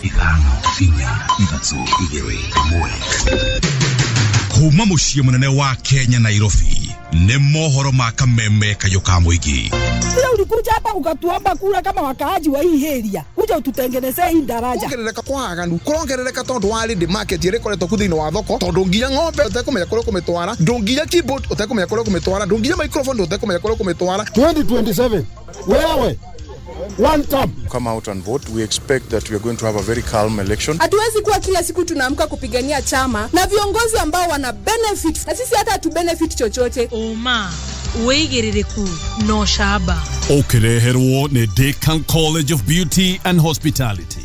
5 4 3 2 1. Kuma muciĩ mũnene wa Kenya Nairobi nĩ mohoro ma kameme kayũ ka mũingĩ. Sasa ulikuja hapa ukatuomba kura kama wakaaji wa hii area, kuja ututengenezee hii daraja. Kuongerereka kwa aganu kurongerereka tondu wa ready market ĩrĩa ĩkoretwo ku thĩinĩ wa thoko, tondu nginya ng'ombe ũtekũmenya kũrĩa ũkũmĩtwara, ndũnginya keyboard ũtekũmenya kũrĩa ũkũmĩtwara, ndũnginya microphone ũtekũmenya kũrĩa ũkũmĩtwara. 2027 wewe one term. Come out and vote. We expect that we are going to have a very calm election. Hatuwezi kuwa kila siku tunaamka kupigania chama na viongozi ambao wana benefit na sisi hata hatu benefit chochote. Oma wĩigĩrĩrĩku no shaba. Ũkĩreherwo nĩ Decan College of Beauty and Hospitality.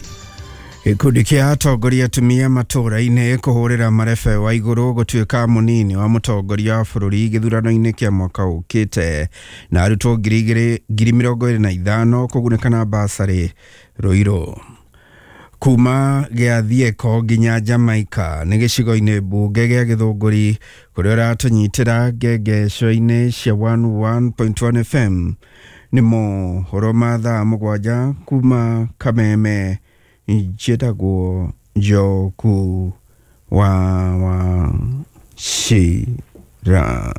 Gĩkundi kĩa atongoria atumia matũũra-inĩ kũhũrĩra marebe wa igũrũ gũtuĩka mũnini wa mũtongoria wa bũrũri gĩthurano-inĩ kĩa mwaka ũkĩte, na arutwo 2025 kũgunĩka na basarĩ Ruiru. Kuma gĩa Thieko nginya Jamaica nĩ gĩcigo-inĩ mbunge gĩa Gĩthũngũri kũrĩa ũratũnyitĩra ngengeco-inĩ cia 101.1 FM. Nĩ mohoro ma thaa 7 kuma Kameme. Njĩtagwo Njoku wa Wachira.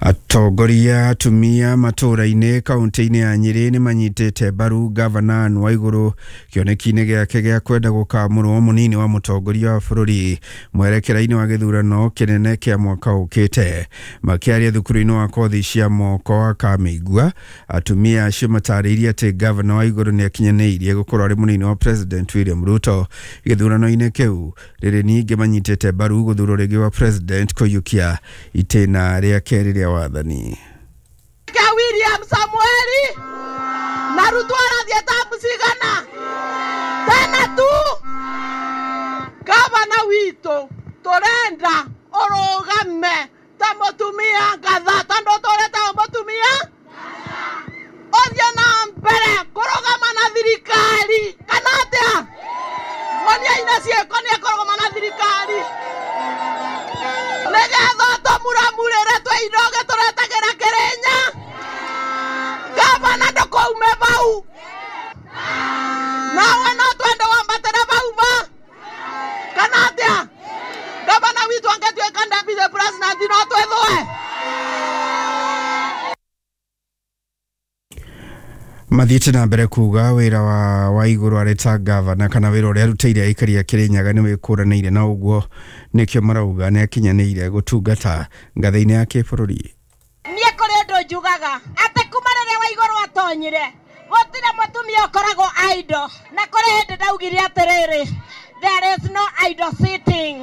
Atongoria atumia matũũra-inĩ kaunti-inĩ ya Nyĩrĩ nĩ manyitĩte mbaru gavana Anne Waigũrũ kĩoneki-inĩ gĩake gĩa kwenda gũkamũrwo mũnini wa mũtongoria wa bũrũri mwerekera-inĩ wa gĩthurano kĩnene kĩa mwaka ũkĩte. Makĩaria thukuru-inĩ wa kothi cia moko wa Kamĩigua, atumia acio matarĩirie atĩ gavana Waigũrũ nĩ akinyanĩirie gũkorwo arĩ mũnini wa President William Ruto gĩthurano-inĩ kĩu. Rĩrĩ ningĩ manyitĩte mbaru gũthurwo rĩngĩ wa President kũiyũkia itĩna rĩa kerĩ rĩa wathani. William Samueli na Ruto arathiĩ tabu cigana tena tu. Gavana witũ tũrenda ũrũgame ta mũtumia ngatha, tondũ tũreta mũtumia ũthiĩ na mbere kũrũgama na thirikari kana atĩa? Monia ina ciĩko nĩ ekũrũgama na thirikari nĩgetha tũmuramurĩre twĩ indo tũretagĩra Kĩrĩnya. Gavana ndũkaume bau, nawe no twende wambatĩre bau ba kana atĩa? Gavana witũ angĩtuĩka deputy president no twĩthũe. Mathiĩte na mbere kuga wĩra wa Waigũrũ arĩ ta gavana kana wĩra ũrĩa arutĩire aikari a Kĩrĩnyaga nĩ wĩkũranĩire, na ũguo nĩkĩo marauga nĩ akinyanĩire gũtungata ngathĩ-inĩ ya kĩbũrũri. Niĩ kũrĩ ũndũ njugaga atĩ kuma rĩrĩa Waigũrũ atonyire gũtirĩ mũtumia ũkoragwo idle, na kũrĩ hĩndĩ ndaugire atĩrĩrĩ, there is no idle sitting.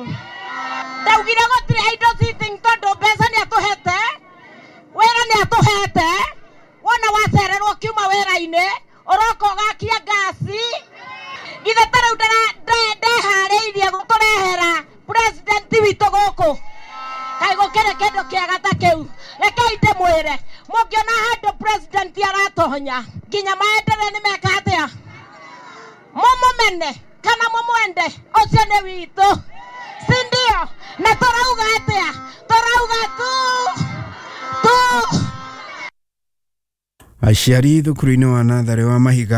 Ndaugire gũtirĩ idle sitting tondũ mbeca nĩ atũhete, wĩra nĩ atũhete. Wona wacererwo kiuma wĩra-inĩ ũroka ũgakia ngasi. Githĩ ta rĩu ndeharĩirie gũtũrehera president witũ gũkũ? Kaĩ gũkĩrĩ kĩndũ kĩega ta kĩu? Rekei ndĩmwĩre, mũngĩona handũ president aratonya nginya maendelee nĩ meka atĩa? Mũmũmene kana mũmwende, ũcio nĩ witũ, si ndio? Na tũrauga atĩa? Tũrauga tu tu. Aciari thukuru-inĩ wa natharĩ wa Mahiga